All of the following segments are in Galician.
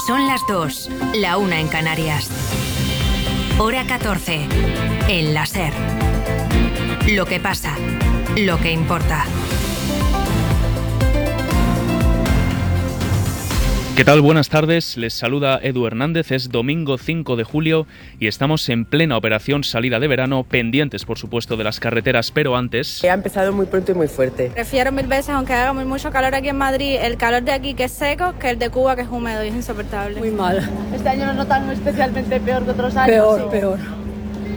Son las 2, la 1 en Canarias. Hora 14, en la SER. Lo que pasa, lo que importa. ¿Qué tal? Buenas tardes, les saluda Edu Hernández, es domingo 5 de julio y estamos en plena operación salida de verano, pendientes por supuesto de las carreteras, pero antes... Ha empezado muy pronto y muy fuerte. Prefiero mil veces, aunque haga mucho calor aquí en Madrid, el calor de aquí que es seco, que el de Cuba que es húmedo y es insoportable. Muy mal. Este año lo notan especialmente peor que otros años. Peor.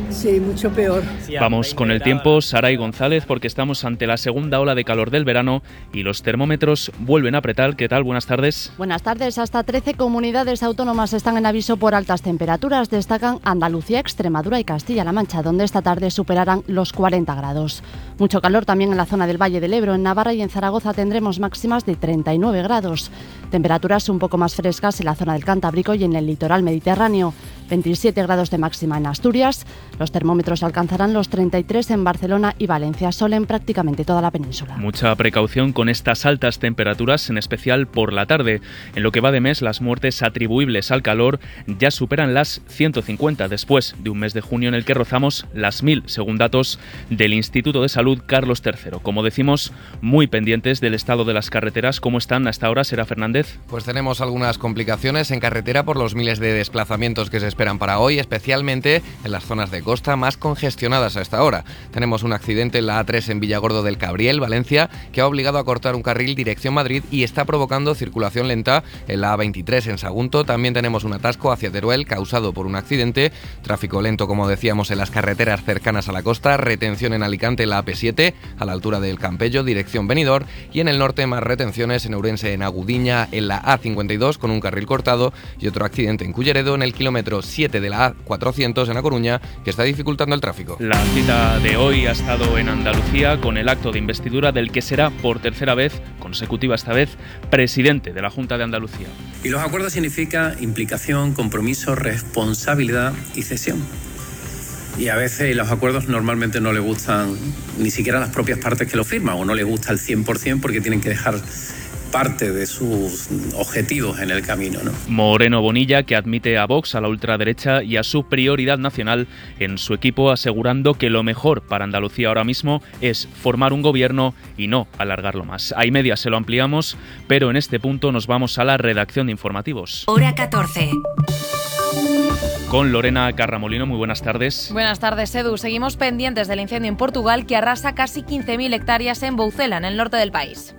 Sí, mucho peor. Vamos con el tiempo, Saray González, porque estamos ante la segunda ola de calor del verano y los termómetros vuelven a apretar. ¿Qué tal? Buenas tardes. Buenas tardes. Hasta 13 comunidades autónomas están en aviso por altas temperaturas. Destacan Andalucía, Extremadura y Castilla-La Mancha, donde esta tarde superarán los 40 grados. Mucho calor también en la zona del Valle del Ebro. En Navarra y en Zaragoza tendremos máximas de 39 grados. Temperaturas un poco más frescas en la zona del Cantábrico y en el litoral mediterráneo. 27 grados de máxima en Asturias. Los termómetros alcanzarán los 33 en Barcelona y Valencia, sol en prácticamente toda la península. Mucha precaución con estas altas temperaturas, en especial por la tarde. En lo que va de mes, las muertes atribuibles al calor ya superan las 150, después de un mes de junio en el que rozamos las 1000, según datos del Instituto de Salud Carlos III. Como decimos, muy pendientes del estado de las carreteras. ¿Cómo están hasta ahora, Sera Fernández? Pues tenemos algunas complicaciones en carretera por los miles de desplazamientos que se esperan para hoy, especialmente en las zonas de costa más congestionadas a esta hora. Tenemos un accidente en la A3 en Villargordo del Cabriel, Valencia, que ha obligado a cortar un carril dirección Madrid y está provocando circulación lenta en la A23 en Sagunto. También tenemos un atasco hacia Teruel causado por un accidente, tráfico lento, como decíamos, en las carreteras cercanas a la costa, retención en Alicante en la AP7 a la altura del Campello, dirección Benidorm, y en el norte más retenciones en Ourense, en Agudiña, en la A52 con un carril cortado y otro accidente en Culleredo en el kilómetro 7 de la A400 en A Coruña, que está dificultando el tráfico. La cita de hoy ha estado en Andalucía con el acto de investidura del que será por tercera vez, consecutiva esta vez, presidente de la Junta de Andalucía. Y los acuerdos significa implicación, compromiso, responsabilidad y cesión. Y a veces los acuerdos normalmente no le gustan ni siquiera a las propias partes que lo firman, o no les gusta al 100% porque tienen que dejar parte de sus objetivos en el camino, ¿no? Moreno Bonilla, que admite a Vox, a la ultraderecha y a su prioridad nacional en su equipo, asegurando que lo mejor para Andalucía ahora mismo es formar un gobierno y no alargarlo más. A y media se lo ampliamos, pero en este punto nos vamos a la redacción de informativos. Hora 14. Con Lorena Carramolino, muy buenas tardes. Buenas tardes, Edu. Seguimos pendientes del incendio en Portugal que arrasa casi 15.000 hectáreas en Boucela, en el norte del país.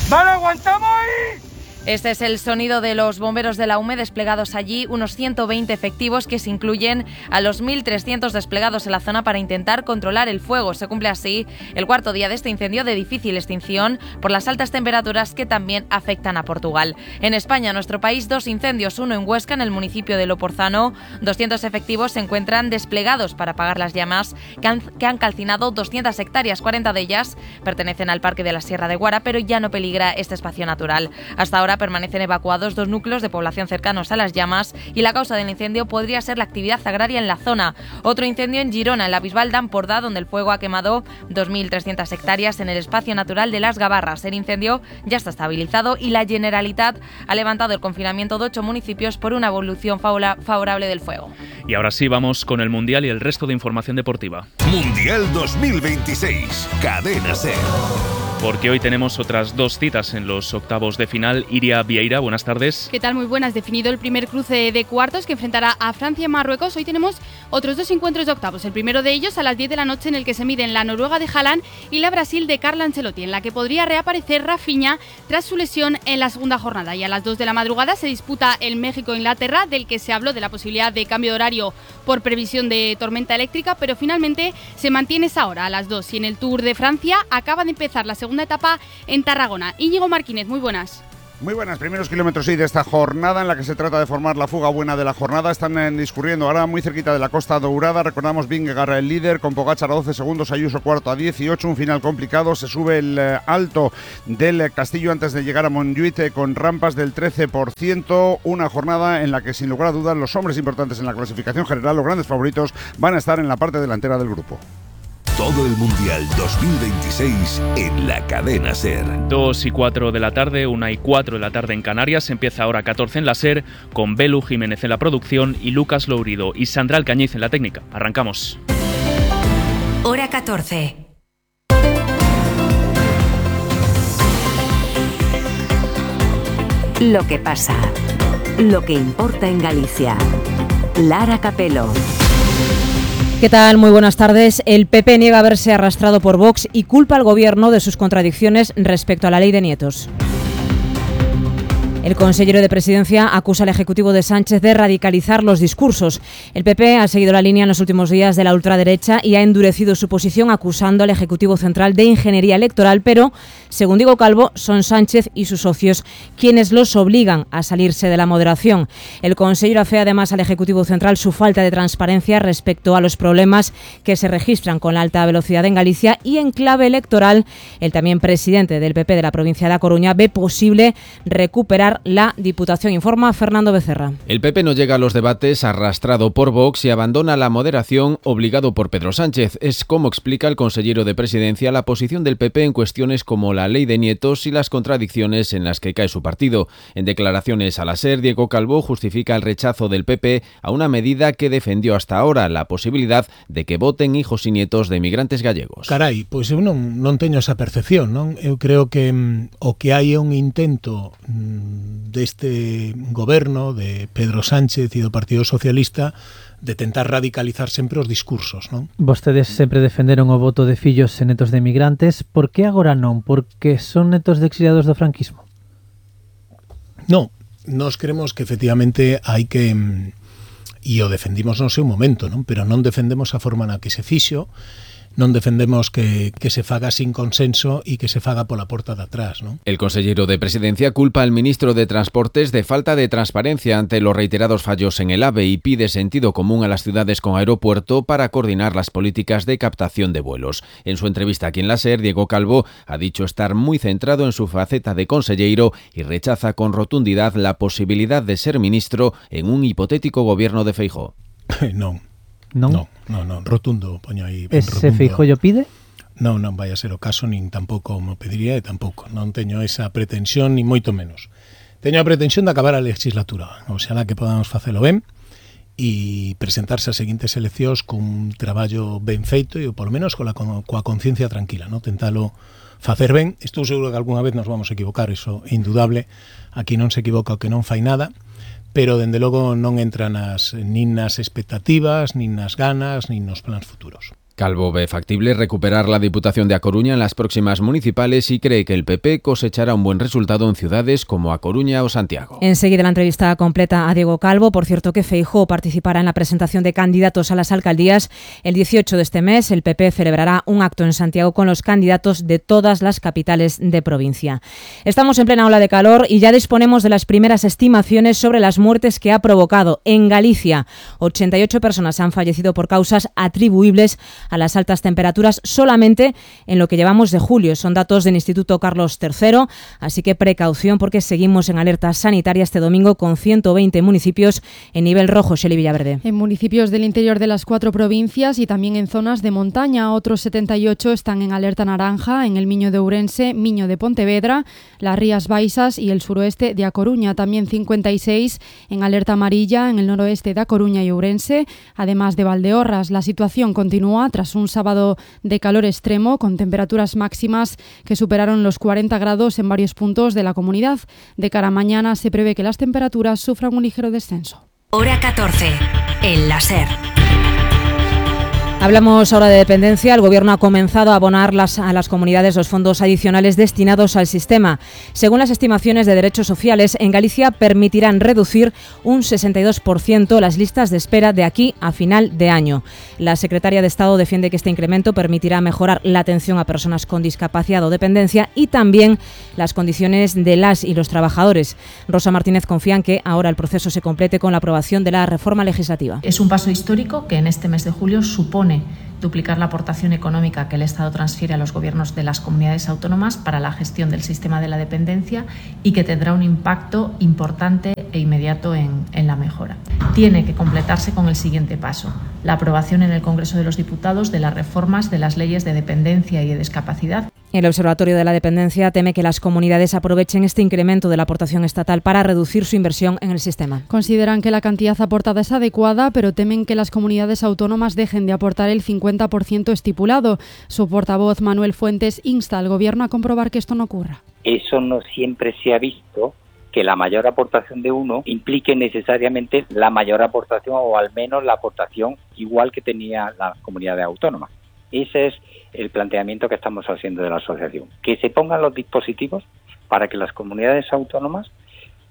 ¡Vale, aguantamos ahí! Este es el sonido de los bomberos de la UME desplegados allí, unos 120 efectivos que se incluyen a los 1.300 desplegados en la zona para intentar controlar el fuego. Se cumple así el cuarto día de este incendio de difícil extinción por las altas temperaturas que también afectan a Portugal. En España, nuestro país, 2 incendios, uno en Huesca, en el municipio de Loporzano. 200 efectivos se encuentran desplegados para apagar las llamas que han calcinado 200 hectáreas. 40 de ellas pertenecen al Parque de la Sierra de Guara, pero ya no peligra este espacio natural. Hasta ahora permanecen evacuados 2 núcleos de población cercanos a las llamas y la causa del incendio podría ser la actividad agraria en la zona. Otro incendio en Girona, en la Bisbal d'Empordà, donde el fuego ha quemado 2.300 hectáreas en el espacio natural de Las Gavarras. El incendio ya está estabilizado y la Generalitat ha levantado el confinamiento de 8 municipios por una evolución favorable del fuego. Y ahora sí, vamos con el Mundial y el resto de información deportiva. Mundial 2026, Cadena SER. Porque hoy tenemos otras 2 citas en los octavos de final. Iria Vieira, buenas tardes. ¿Qué tal? Muy buenas. Definido el primer cruce de cuartos que enfrentará a Francia y Marruecos. Hoy tenemos otros 2 encuentros de octavos. El primero de ellos a las 10 de la noche, en el que se miden la Noruega de Haaland y la Brasil de Carlo Ancelotti, en la que podría reaparecer Rafinha tras su lesión en la segunda jornada. Y a las 2 de la madrugada se disputa el México-Inglaterra, del que se habló de la posibilidad de cambio de horario por previsión de tormenta eléctrica, pero finalmente se mantiene esa hora a las 2. Y en el Tour de Francia acaba de empezar la segunda etapa en Tarragona. Íñigo Martínez, muy buenas. Muy buenas, primeros kilómetros de esta jornada en la que se trata de formar la fuga buena de la jornada. Están discurriendo ahora muy cerquita de la Costa Dourada. Recordamos Vingegaard el líder con Pogačar a 12 segundos, Ayuso cuarto a 18. Un final complicado. Se sube el alto del Castillo antes de llegar a Montjuïc con rampas del 13%. Una jornada en la que sin lugar a dudas los hombres importantes en la clasificación general, los grandes favoritos, van a estar en la parte delantera del grupo. todo el Mundial 2026 en la cadena SER. 2:04 de la tarde, 1:04 de la tarde en Canarias. Empieza ahora 14 en la SER con Belu Jiménez en la producción y Lucas Lourido y Sandra Alcañiz en la técnica. Arrancamos. Hora 14. Lo que pasa. Lo que importa en Galicia. Lara Capelo. ¿Qué tal? Muy buenas tardes. El PP niega haberse arrastrado por Vox y culpa al Gobierno de sus contradicciones respecto a la ley de nietos. El consejero de Presidencia acusa al Ejecutivo de Sánchez de radicalizar los discursos. El PP ha seguido la línea en los últimos días de la ultraderecha y ha endurecido su posición acusando al Ejecutivo Central de ingeniería electoral, pero, según Diego Calvo, son Sánchez y sus socios quienes los obligan a salirse de la moderación. El consejero afea además al Ejecutivo Central su falta de transparencia respecto a los problemas que se registran con la alta velocidad en Galicia y en clave electoral, el también presidente del PP de la provincia de A Coruña ve posible recuperar la Diputación, informa Fernando Becerra. El PP no llega a los debates arrastrado por Vox y abandona la moderación obligado por Pedro Sánchez. Es como explica el consejero de Presidencia la posición del PP en cuestiones como la ley de nietos y las contradicciones en las que cae su partido. En declaraciones a la SER, Diego Calvo justifica el rechazo del PP a una medida que defendió hasta ahora, la posibilidad de que voten hijos y nietos de emigrantes gallegos. Carai, pois eu non teño esa percepción, non? Eu creo que o que hai é un intento deste goberno de Pedro Sánchez e do Partido Socialista de tentar radicalizar sempre os discursos, non? Vostedes sempre defenderon o voto de fillos e netos de emigrantes. Por que agora non? Porque son netos de exiliados do franquismo? Non, nós creemos que efectivamente hai que, e o defendimos no seu momento, non? Pero non defendemos a forma na que se fixo, non defendemos que se faga sin consenso e que se faga pola porta de atrás, ¿no? El consejero de Presidencia culpa al ministro de Transportes de falta de transparencia ante los reiterados fallos en el AVE y pide sentido común a las ciudades con aeropuerto para coordinar las políticas de captación de vuelos. En su entrevista aquí en la SER, Diego Calvo ha dicho estar muy centrado en su faceta de consejero y rechaza con rotundidad la posibilidad de ser ministro en un hipotético gobierno de Feijóo. Non, rotundo, poño aí. Ese Feijóo pide? Non vai a ser o caso, nin tampouco me pediría e tampouco. Non teño esa pretensión, ni moito menos. Teño a pretensión de acabar a legislatura, oxalá que podamos facelo ben e presentarse as seguintes eleccións cun traballo ben feito e polo menos coa conciencia tranquila, non? Tentalo facer ben. Estou seguro que algunha vez nos vamos a equivocar, iso é indudable. Aquí non se equivoca o que non fai nada, pero dende logo non entran nin nas expectativas, nin nas ganas, nin nos plans futuros. Calvo ve factible recuperar la Diputación de A Coruña en las próximas municipales y cree que el PP cosechará un buen resultado en ciudades como A Coruña o Santiago. Enseguida la entrevista completa a Diego Calvo. Por cierto que Feijóo participará en la presentación de candidatos a las alcaldías. El 18 de este mes el PP celebrará un acto en Santiago con los candidatos de todas las capitales de provincia. Estamos en plena ola de calor y ya disponemos de las primeras estimaciones sobre las muertes que ha provocado. En Galicia, 88 personas han fallecido por causas atribuibles a las altas temperaturas solamente en lo que llevamos de julio. Son datos del Instituto Carlos III, así que precaución porque seguimos en alerta sanitaria este domingo con 120 municipios en nivel rojo. Xeli Villaverde. En municipios del interior de las 4 provincias y también en zonas de montaña, otros 78 están en alerta naranja en el Miño de Ourense, Miño de Pontevedra, las Rías Baixas y el suroeste de A Coruña. También 56 en alerta amarilla en el noroeste de A Coruña y Ourense, además de Valdeorras. La situación continúa tras un sábado de calor extremo con temperaturas máximas que superaron los 40 grados en varios puntos de la comunidad. De cara a mañana se prevé que las temperaturas sufran un ligero descenso. Hora 14, en la SER. Hablamos ahora de dependencia. El Gobierno ha comenzado a abonar a las comunidades los fondos adicionales destinados al sistema. Según las estimaciones de Derechos Sociales, en Galicia permitirán reducir un 62% las listas de espera de aquí a final de año. La secretaria de Estado defiende que este incremento permitirá mejorar la atención a personas con discapacidad o dependencia y también las condiciones de las y los trabajadores. Rosa Martínez confía en que ahora el proceso se complete con la aprobación de la reforma legislativa. Es un paso histórico que en este mes de julio supone duplicar la aportación económica que el Estado transfiere a los gobiernos de las comunidades autónomas para la gestión del sistema de la dependencia y que tendrá un impacto importante e inmediato en la mejora. Tiene que completarse con el siguiente paso: la aprobación en el Congreso de los Diputados de las reformas de las leyes de dependencia y de discapacidad. El Observatorio de la Dependencia teme que las comunidades aprovechen este incremento de la aportación estatal para reducir su inversión en el sistema. Consideran que la cantidad aportada es adecuada, pero temen que las comunidades autónomas dejen de aportar el 50% estipulado. Su portavoz, Manuel Fuentes, insta al Gobierno a comprobar que esto no ocurra. Eso no siempre se ha visto, que la mayor aportación de uno implique necesariamente la mayor aportación, o al menos la aportación igual que tenía las comunidades autónomas. Ese es el planteamiento que estamos haciendo de la asociación, que se pongan los dispositivos para que las comunidades autónomas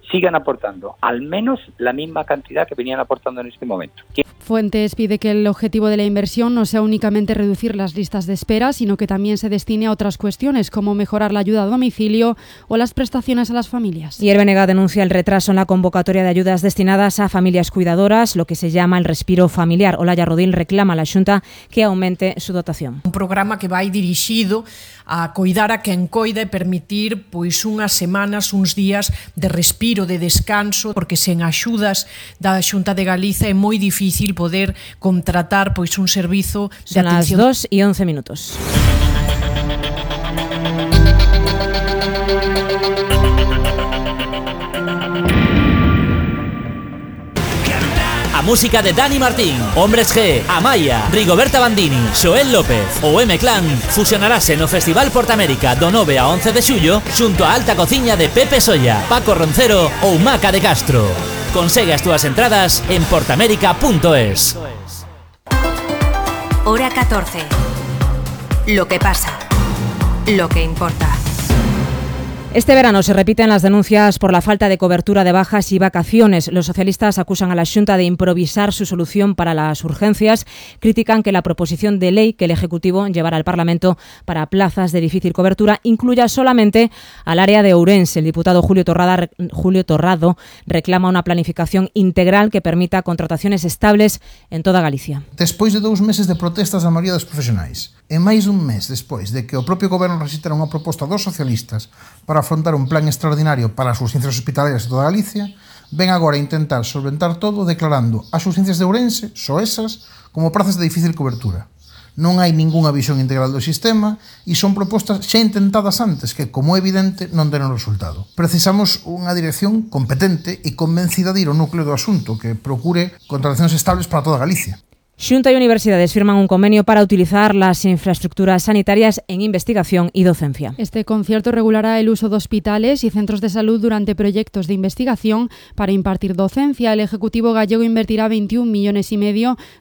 sigan aportando al menos la misma cantidad que venían aportando en este momento. Fuentes pide que el objetivo de la inversión no sea únicamente reducir las listas de espera, sino que también se destine a otras cuestiones, como mejorar la ayuda a domicilio o las prestaciones a las familias. Y el BNG denuncia el retraso en la convocatoria de ayudas destinadas a familias cuidadoras, lo que se llama el respiro familiar. Olaya Rodil reclama a la Xunta que aumente su dotación. Un programa que vai dirixido a coidar a quen coida e permitir pois unhas semanas, uns días de respiro, de descanso, porque sen axudas da Xunta de Galiza é moi difícil poder contratar pois un servizo de atención. Son las 2:11. A música de Dani Martín, Hombres G, Amaya, Rigoberta Bandini, Xoel López ou M-Clan fusionarase no Festival Portamérica do 9 a 11 de xullo xunto a Alta Cociña de Pepe Solla, Paco Roncero ou Maca de Castro. Consegue as túas entradas en portamérica.es. Hora 14. Lo que pasa. Lo que importa. Este verano se repiten las denuncias por la falta de cobertura de bajas y vacaciones. Los socialistas acusan a la Xunta de improvisar su solución para las urgencias. Critican que la proposición de ley que el Ejecutivo llevará al Parlamento para plazas de difícil cobertura incluya solamente al área de Ourense. El diputado Julio Torrado reclama una planificación integral que permita contrataciones estables en toda Galicia. Despois de 2 meses de protestas da maioría dos profesionais e máis dun mes despois de que o propio Goberno rexistara unha proposta dos socialistas para afrontar un plan extraordinario para as urxencias hospitalarias de toda Galicia, ven agora a intentar solventar todo declarando as urxencias de Ourense, só esas, como prazas de difícil cobertura. Non hai ningunha visión integral do sistema e son propostas xa intentadas antes que, como é evidente, non deron resultado. Precisamos unha dirección competente e convencida de ir ao núcleo do asunto que procure contratacións estables para toda Galicia. Xunta y universidades firman un convenio para utilizar las infraestructuras sanitarias en investigación y docencia. Este concierto regulará el uso de hospitales y centros de salud durante proyectos de investigación para impartir docencia. El Ejecutivo gallego invertirá 21,5 millones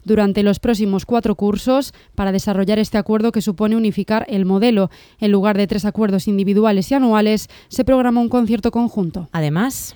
durante los próximos 4 cursos para desarrollar este acuerdo que supone unificar el modelo. En lugar de 3 acuerdos individuales y anuales, se programa un concierto conjunto. Además,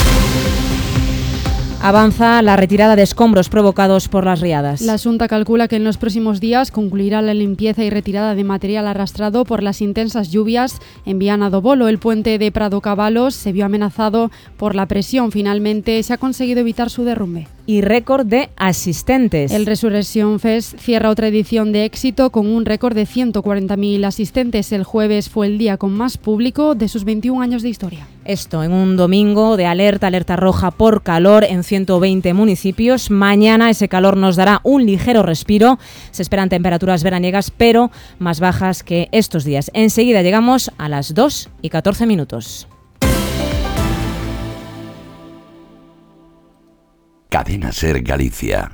avanza la retirada de escombros provocados por las riadas. La Xunta calcula que en los próximos días concluirá la limpieza y retirada de material arrastrado por las intensas lluvias en Viana do Bolo. El puente de Prado Cabalos se vio amenazado por la presión. Finalmente se ha conseguido evitar su derrumbe. Y récord de asistentes. El Resurrection Fest cierra otra edición de éxito con un récord de 140.000 asistentes. El jueves fue el día con más público de sus 21 años de historia. Esto en un domingo de alerta roja por calor en 120 municipios. Mañana ese calor nos dará un ligero respiro. Se esperan temperaturas veraniegas, pero más bajas que estos días. Enseguida llegamos a las 2:14. Cadena Ser Galicia.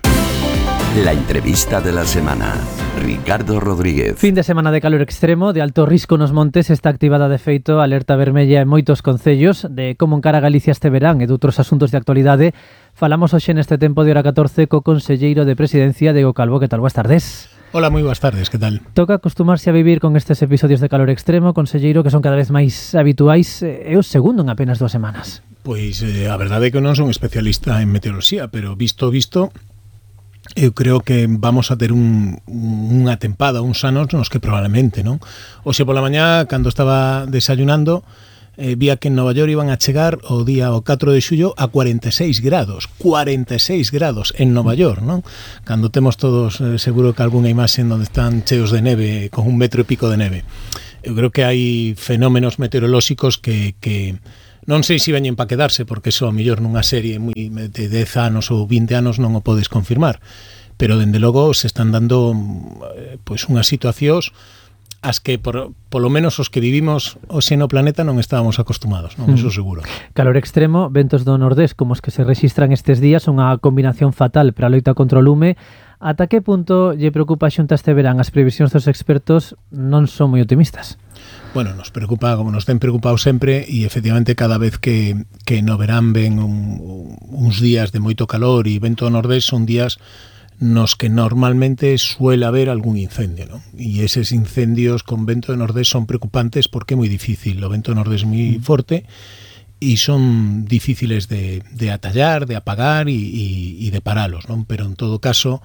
La entrevista de la semana. Ricardo Rodríguez. Fin de semana de calor extremo, de alto risco nos montes, está activada de feito alerta vermella en moitos concellos. De como encara Galicia este verán e de outros asuntos de actualidade falamos hoxe neste tempo de hora 14 co conselleiro de Presidencia, Diego Calvo. Que tal? Boas tardes. Hola, moi boas tardes, que tal? Toca acostumarse a vivir con estes episodios de calor extremo, conselleiro, que son cada vez máis habituais. É o segundo en apenas 2 semanas. Pois a verdade é que non son especialista en meteoroloxía, pero visto, eu creo que vamos a ter unha tempada, uns anos nos que probablemente, non? Oxe pola mañá, cando estaba desayunando, vía que en Nova York iban a chegar o día o 4 de xullo a 46 grados en Nova York, non? Cando temos todos seguro que algunha imaxe onde están cheos de neve, con 1,5 metro de neve. Eu creo que hai fenómenos meteorolóxicos que non sei se veñen para quedarse, porque eso a mellor nunha serie de 10 anos ou 20 anos non o podes confirmar, pero dende logo se están dando pois unhas situacións as que polo menos os que vivimos hoxe no planeta non estábamos acostumados, non? Eso seguro. Calor extremo, ventos do nordés como os que se registran estes días, unha combinación fatal para a loita contra o lume. Ata que punto lle preocupa a Xunta este verán? As previsións dos expertos non son moi optimistas. Bueno, nos preocupa, como nos ten preocupado sempre, e efectivamente cada vez que no verán ven uns días de moito calor e vento do nordés son días nos que normalmente suele haber algún incendio, ¿no? Y esos incendios con vento de nordés son preocupantes porque é moi difícil, o vento de nordés é moi forte e son difíciles de atallar, de apagar e de paralos, ¿no? Pero en todo caso,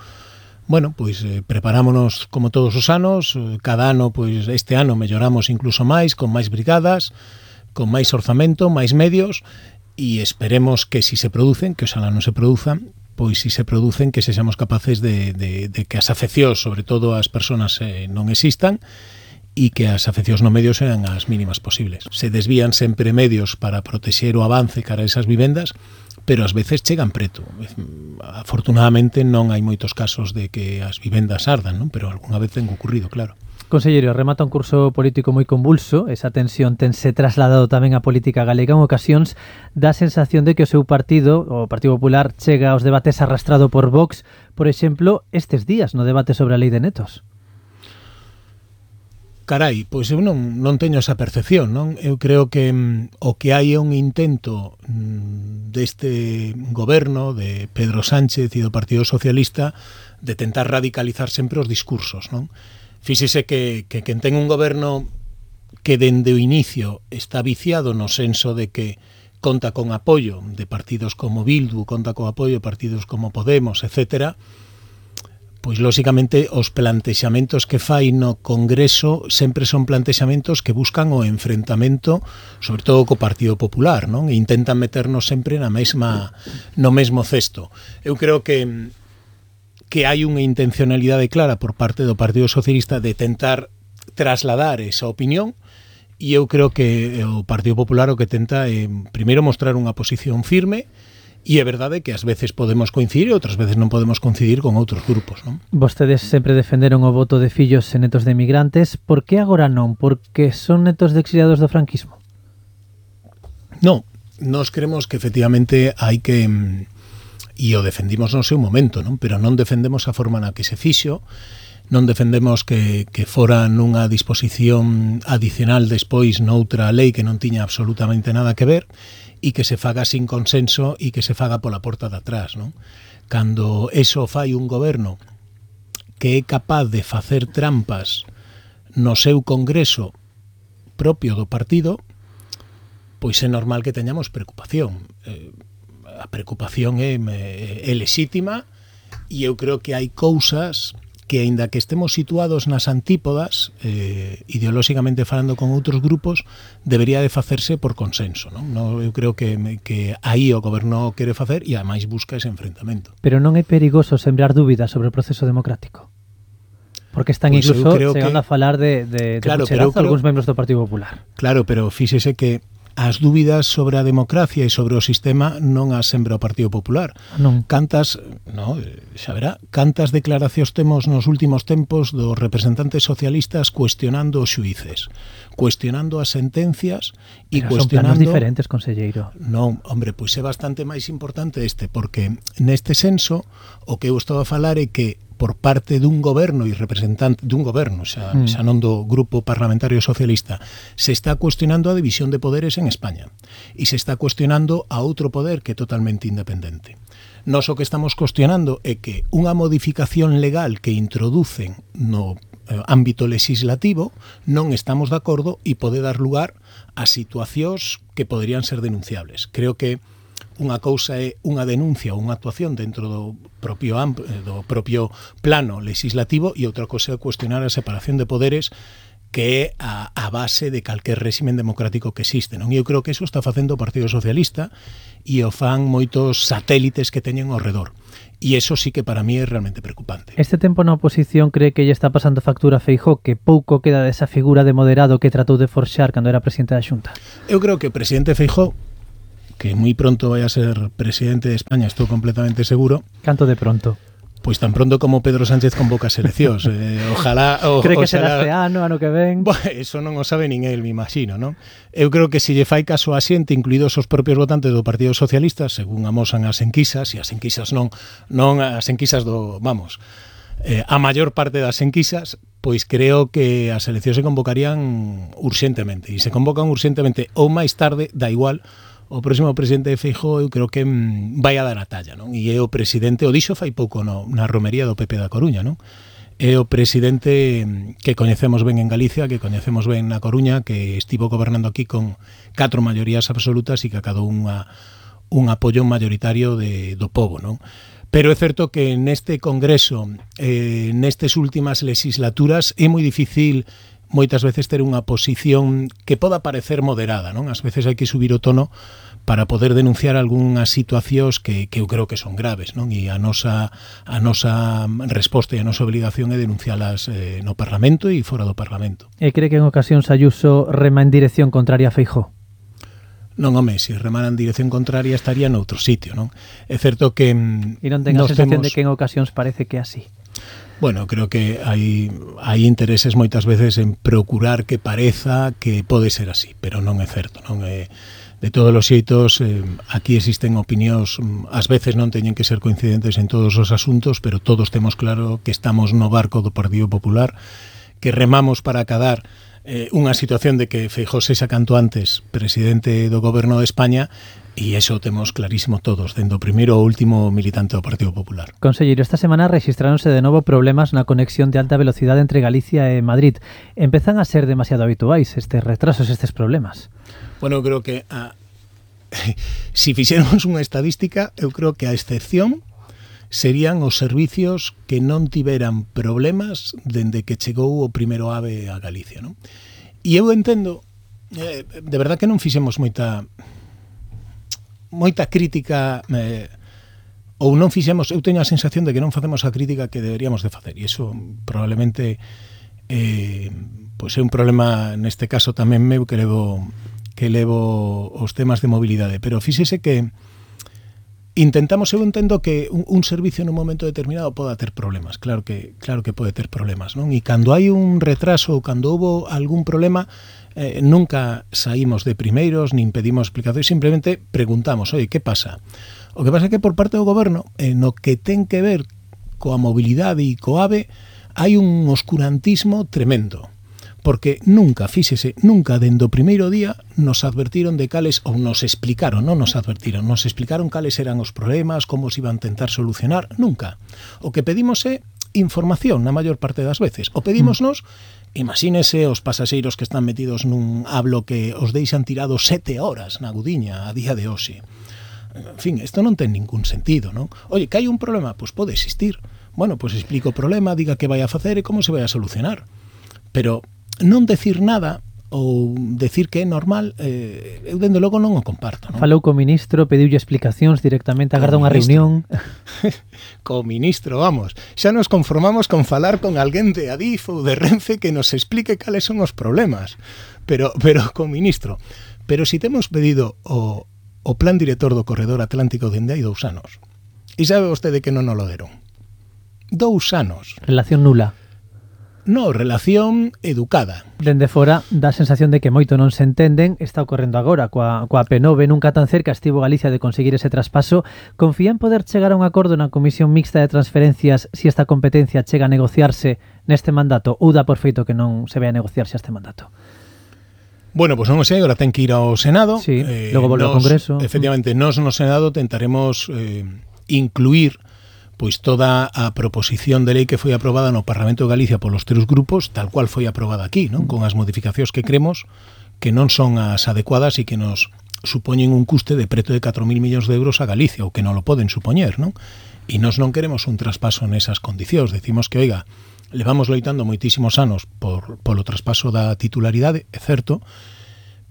bueno, pois preparámonos como todos os anos, cada ano, pois este ano melloramos incluso máis, con máis brigadas, con máis orzamento, máis medios, e esperemos que si se producen, que oxalá non se produzan, pois si se producen que sexamos capaces de que as afeccións, sobre todo as persoas, non existan e que as afeccións no medio sean as mínimas posibles. Se desvían sempre medios para protexer o avance cara a esas vivendas, pero ás veces chegan preto. Afortunadamente non hai moitos casos de que as vivendas ardan, non? Pero algunha vez ten ocurrido, claro. Conselleiro, remata un curso político moi convulso, esa tensión tense trasladado tamén á política galega, en ocasións dá a sensación de que o seu partido, o Partido Popular, chega aos debates arrastrado por Vox, por exemplo, estes días no debate sobre a lei de netos. Carai, pois eu non teño esa percepción, non? Eu creo que o que hai é un intento deste goberno de Pedro Sánchez e do Partido Socialista de tentar radicalizar sempre os discursos, non? Fíxese que quen ten un goberno que dende o inicio está viciado no senso de que conta con apoio de partidos como Bildu, conta con apoio de partidos como Podemos, etcétera, pois lóxicamente os plantexamentos que fai no Congreso sempre son plantexamentos que buscan o enfrentamento, sobre todo co Partido Popular, non? E intentan meternos sempre no mesmo cesto. Eu creo que hai unha intencionalidade clara por parte do Partido Socialista de tentar trasladar esa opinión, e eu creo que o Partido Popular o que tenta é primeiro mostrar unha posición firme, e é verdade que ás veces podemos coincidir e outras veces non podemos coincidir con outros grupos, non? Vostedes sempre defenderon o voto de fillos e netos de emigrantes. Por que agora non? Porque son netos de exiliados do franquismo? Non, nós creemos que efectivamente hai que... e o defendimos no seu momento, non? Pero non defendemos a forma na que se fixo, non defendemos que fora nunha disposición adicional despois noutra lei que non tiña absolutamente nada que ver e que se faga sin consenso e que se faga pola porta de atrás, non? Cando eso fai un goberno que é capaz de facer trampas no seu congreso propio do partido, pois é normal que teñamos preocupación. A preocupación é lexítima e eu creo que hai cousas que, aínda que estemos situados nas antípodas, ideolóxicamente falando con outros grupos, debería de facerse por consenso, non? Eu creo que aí o goberno quere facer e ademais busca ese enfrentamento. Pero non é perigoso sembrar dúbidas sobre o proceso democrático? Porque están pues incluso chegando a falar de pucherazo algúns membros do Partido Popular. Claro, pero fíxese que as dúbidas sobre a democracia e sobre o sistema non as sembra o Partido Popular. Non. Cantas declaracións temos nos últimos tempos dos representantes socialistas cuestionando os xuíces, cuestionando as sentencias e cuestionando... Son planos diferentes, conselleiro. Non, hombre, pois é bastante máis importante porque neste senso o que eu estou a falar é que por parte dun goberno e representante dun goberno, xa non do Grupo Parlamentario Socialista, se está cuestionando a división de poderes en España e se está cuestionando a outro poder que é totalmente independente. Nós o que estamos cuestionando é que unha modificación legal que introducen no ámbito legislativo non estamos de acordo e pode dar lugar a situacións que poderían ser denunciables. Creo que unha cousa é unha denuncia ou unha actuación dentro do propio plano legislativo e outra cousa é cuestionar a separación de poderes que é a base de calquer réximen democrático que existe, non? E eu creo que eso está facendo o Partido Socialista e o fan moitos satélites que teñen ao redor. E eso sí que para mí é realmente preocupante. Este tempo na oposición cree que lle está pasando factura a Feijóo, que pouco queda desa figura de moderado que tratou de forxar cando era presidente da Xunta? Eu creo que o presidente Feijóo, que moi pronto vai a ser presidente de España, estou completamente seguro. Canto de pronto? Pois tan pronto como Pedro Sánchez convoca as eleccións. Ojalá... Cree que será este ano que ven? Eso non o sabe nin el, me imagino, non? Eu creo que se lle fai caso a xente, incluídos os propios votantes do Partido Socialista, según amosan as enquisas, e as enquisas non as enquisas do... Vamos, a maior parte das enquisas, pois creo que as eleccións se convocarían urxentemente. E se convocan urxentemente ou máis tarde, da igual... O próximo presidente de Feijóo eu creo que vai a dar a talla, non? E é o presidente, o dixo fai pouco na romería do PP da Coruña, non? É o presidente que coñecemos ben en Galicia, que coñecemos ben na Coruña, que estivo gobernando aquí con 4 maiorías absolutas e que acadou un apoio mayoritario do povo, non? Pero é certo que neste Congreso, nestes últimas legislaturas, é moi difícil moitas veces ter unha posición que poda parecer moderada, non? Ás veces hai que subir o tono para poder denunciar algunhas situacións que eu creo que son graves, non? E a nosa resposta e a nosa obrigación é denuncialas no Parlamento e fora do Parlamento. E cree que en ocasións Ayuso rema en dirección contraria a Feijóo? Non, home, se remara en dirección contraria estaría noutro sitio, non? É certo que... E non ten a sensación de que en ocasións parece que é así? Bueno, creo que hai intereses moitas veces en procurar que pareza que pode ser así, pero non é certo, non é. De todos os xeitos, aquí existen opinións, ás veces non teñen que ser coincidentes en todos os asuntos, pero todos temos claro que estamos no barco do Partido Popular, que remamos para acadar unha situación de que Feijóo sexa canto antes presidente do Goberno de España. E iso temos clarísimo todos, dende o primeiro ao último militante do Partido Popular. Conselleiro, esta semana rexistráronse de novo problemas na conexión de alta velocidade entre Galicia e Madrid. Empezan a ser demasiado habituais estes retrasos, estes problemas? Bueno, eu creo que si fixéramos unha estadística, eu creo que a excepción serían os servicios que non tiveran problemas dende que chegou o primeiro AVE a Galicia, non? E eu entendo, de verdad que non fixemos moita crítica ou non fixemos, eu teño a sensación de que non facemos a crítica que deberíamos de facer, e iso probablemente pois é un problema neste caso tamén meu que levo os temas de mobilidade, pero fíxese que intentamos, eu entendo que un servicio nun momento determinado poda ter problemas, claro que pode ter problemas, non? E cando hai un retraso ou cando houve algún problema, nunca saímos de primeiros, nin pedimos explicacións, simplemente preguntamos, oye, que pasa? O que pasa é que por parte do goberno, no que ten que ver coa mobilidade e co AVE, hai un oscurantismo tremendo. Porque nunca dende o primeiro día nos advertiron de cales, ou nos explicaron cales eran os problemas, como se iban a tentar solucionar, nunca. O que pedimos é información na maior parte das veces. O pedímosnos, imagínese os pasaxeiros que están metidos nun hablo que os deixan tirados 7 horas na Gudiña a día de hoxe. En fin, isto non ten ningún sentido, non? Oye, que hai un problema? Pois pode existir. Bueno, pois explico o problema, diga que vai a facer e como se vai a solucionar. Pero non decir nada ou decir que é normal, eu dende logo non o comparto, non? Falou co ministro, pediulle explicacións directamente, agarda unha reunión. Co ministro, vamos, xa nos conformamos con falar con alguén de Adif ou de Renfe que nos explique cales son os problemas, pero co ministro. Pero si temos pedido o plan director do corredor atlántico dende hai 2 anos, e sabe vostede que non o deron? 2 anos. Relación nula. No, relación educada. Dende fora dá a sensación de que moito non se entenden. Está ocorrendo agora coa P9, nunca tan cerca estivo Galicia de conseguir ese traspaso. Confía en poder chegar a un acordo na Comisión Mixta de Transferencias se esta competencia chega a negociarse neste mandato ou dá por feito que non se vai a negociarse este mandato? Bueno, pois non o sei, agora ten que ir ao Senado. Sí, logo volve ao Congreso. Efectivamente, nós no Senado tentaremos incluir pois toda a proposición de lei que foi aprobada no Parlamento de Galicia polos 3 grupos, tal cual foi aprobada aquí, non? Con as modificacións que cremos que non son as adecuadas e que nos supoñen un custe de preto de 4.000 millóns de euros a Galicia, ou que non lo poden supoñer, non? E nós non queremos un traspaso nesas condicións. Decimos que, oiga, levamos loitando moitísimos anos polo traspaso da titularidade, é certo,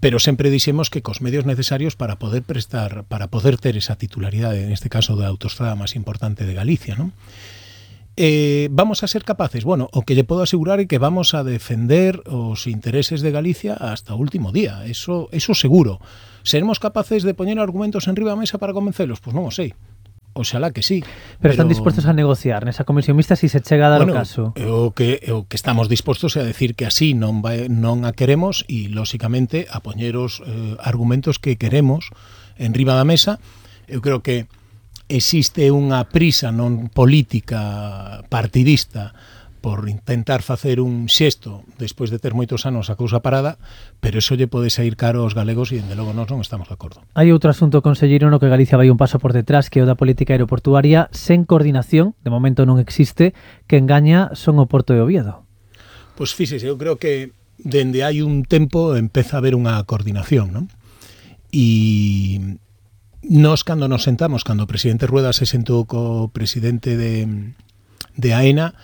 pero sempre dixemos que cos medios necesarios para poder ter esa titularidade, en este caso da autoestrada máis importante de Galicia, non? Vamos a ser capaces, bueno, o que lle podo asegurar é que vamos a defender os intereses de Galicia hasta o último día, eso seguro. Seremos capaces de poñer argumentos en riba da mesa para convencelos? Pois non o sei. Oxalá que sí. Pero están dispostos a negociar nesa comisión mixta se se chega a dar o caso. O que estamos dispostos a decir que así non a queremos e, lóxicamente, a poñer os argumentos que queremos en riba da mesa. Eu creo que existe unha prisa non política partidista por intentar facer un xesto despois de ter moitos anos a cousa parada, pero eso lle pode sair caro aos galegos e, dende logo, nós non estamos de acordo. Hai outro asunto, conselleiro, no que Galicia vai un paso por detrás, que é o da política aeroportuaria sen coordinación, de momento non existe, que engaña son o Porto de Oviedo. Pois fíxese, eu creo que dende hai un tempo empeza a haber unha coordinación, non? E nós, cando nos sentamos, cando o presidente Rueda se sentou co presidente de AENA,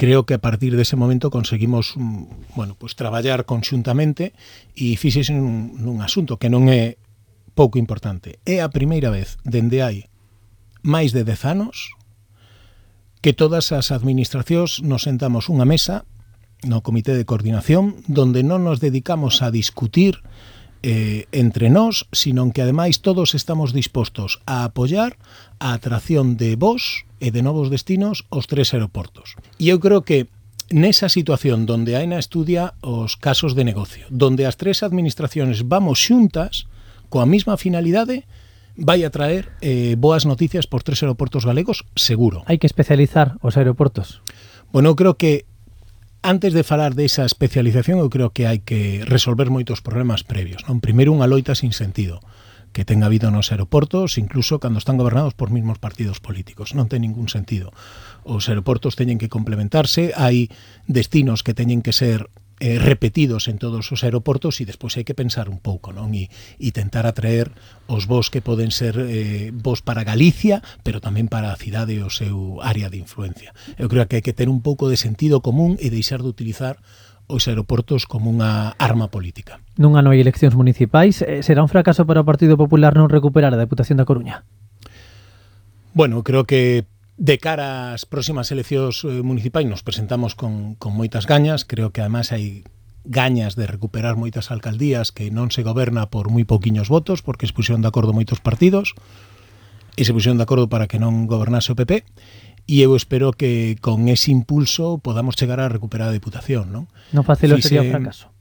creo que a partir dese momento conseguimos, bueno, pues traballar conxuntamente e fíxese nun asunto que non é pouco importante. É a primeira vez dende hai máis de 10 anos que todas as administracións nos sentamos unha mesa no Comité de Coordinación donde non nos dedicamos a discutir entre nós, sino que ademais todos estamos dispostos a apoiar a atracción de voos e de novos destinos aos 3 aeroportos. E eu creo que nesa situación donde AENA estudia os casos de negocio, donde as 3 administraciones vamos xuntas coa mesma finalidade, vai a traer boas noticias por 3 aeroportos galegos, seguro. Hai que especializar os aeroportos. Bueno, eu creo que antes de falar desa especialización, eu creo que hai que resolver moitos problemas previos, non? Primeiro, unha loita sin sentido que ten habido nos aeroportos, incluso cando están gobernados por mesmos partidos políticos. Non ten ningún sentido. Os aeroportos teñen que complementarse, hai destinos que teñen que ser repetidos en todos os aeroportos e despois hai que pensar un pouco, non? E tentar atraer os voos que poden ser voos para Galicia, pero tamén para a cidade e o seu área de influencia. Eu creo que hai que ter un pouco de sentido común e deixar de utilizar os aeroportos como unha arma política. Non hai eleccións municipais. Será un fracaso para o Partido Popular non recuperar a Deputación da Coruña? Bueno, creo que de cara ás próximas eleccións municipais nos presentamos con moitas gañas. Creo que además hai gañas de recuperar moitas alcaldías que non se goberna por moi pouquiños votos, porque se puxeron de acordo moitos partidos e se puxeron de acordo para que non gobernase o PP. E eu espero que con ese impulso podamos chegar a recuperar a Deputación, non? Non facelo sería un fracaso.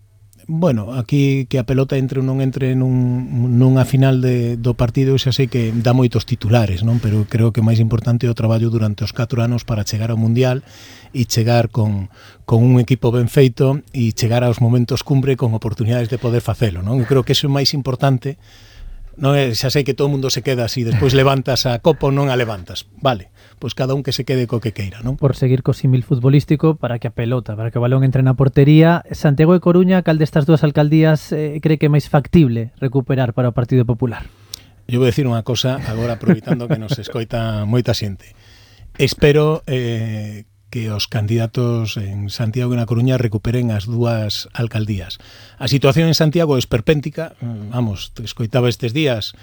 Bueno, aquí que a pelota entre ou non entre nunha final do partido, xa sei que dá moitos titulares, non? Pero creo que o máis importante é o traballo durante os 4 anos para chegar ao Mundial e chegar con un equipo ben feito e chegar aos momentos cumbre con oportunidades de poder facelo, non? Eu creo que iso é máis importante. Non é, xa sei que todo o mundo se queda así, despois levantas a copa ou non a levantas. Vale, pois cada un que se quede co que queira, non? Por seguir co símil futbolístico, para que a pelota, para que o balón entre na portería, Santiago e Coruña, cal destas dúas alcaldías cree que é máis factible recuperar para o Partido Popular? Eu vou dicir unha cosa, agora aproveitando que nos escoita moita xente. Espero que os candidatos en Santiago e na Coruña recuperen as dúas alcaldías. A situación en Santiago é esperpéntica, vamos, escoitaba estes días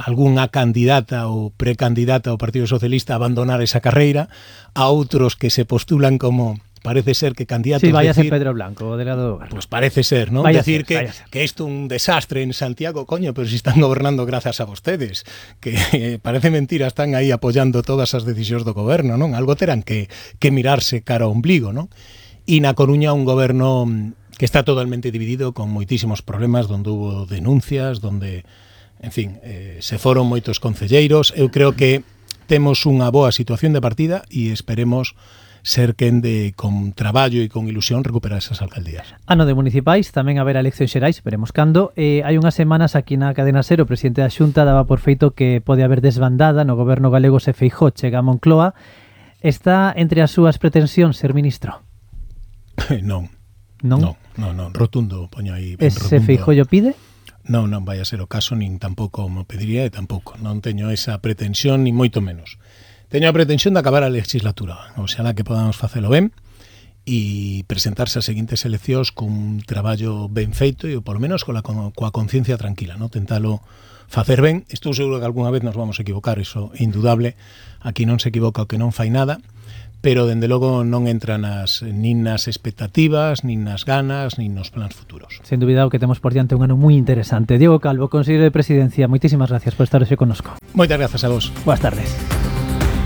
algunha candidata ou precandidata ao Partido Socialista a abandonar esa carreira, a outros que se postulan como parece ser que candidatos... Sí, váyase Pedro Blanco, o delegado do goberno. Pues parece ser, ¿no? Decir que isto é un desastre en Santiago, coño, pero si están gobernando grazas a vostedes, que parece mentira, están aí apoiando todas as decisións do goberno, non? Algo terán que mirarse cara ao ombligo, non? E na Coruña un goberno que está totalmente dividido, con moitísimos problemas, donde hubo denuncias, donde, en fin, se foron moitos concelleiros. Eu creo que temos unha boa situación de partida e esperemos ser quen de, con traballo e con ilusión, recuperar esas alcaldías. Ano de municipais, tamén haberá eleccións xerais, veremos cando. Hai unhas semanas aquí na cadena SER, o presidente da Xunta daba por feito que pode haber desbandada no goberno galego se Feijóo chega a Moncloa. Está entre as súas pretensións ser ministro? Non. Non? Non, rotundo, poño aí. Se Feijóo o pide? Non vai a ser o caso, nin tampouco me pediría e tampouco. Non teño esa pretensión, nin moito menos. Teño a pretensión de acabar a legislatura, oxalá que podamos facelo ben e presentarse as seguintes eleccións cun traballo ben feito e polo menos coa conciencia tranquila, non? Tentalo facer ben. Estou seguro que algunha vez nos vamos a equivocar, iso é indudable. Aquí non se equivoca o que non fai nada, pero dende logo non entra nin nas expectativas, nin nas ganas, nin nos plans futuros. Sen dúbida o que temos por diante un ano moi interesante. Diego Calvo, consejero de Presidencia, moitísimas gracias por estar hoxe connosco. Moitas grazas a vos. Boas tardes.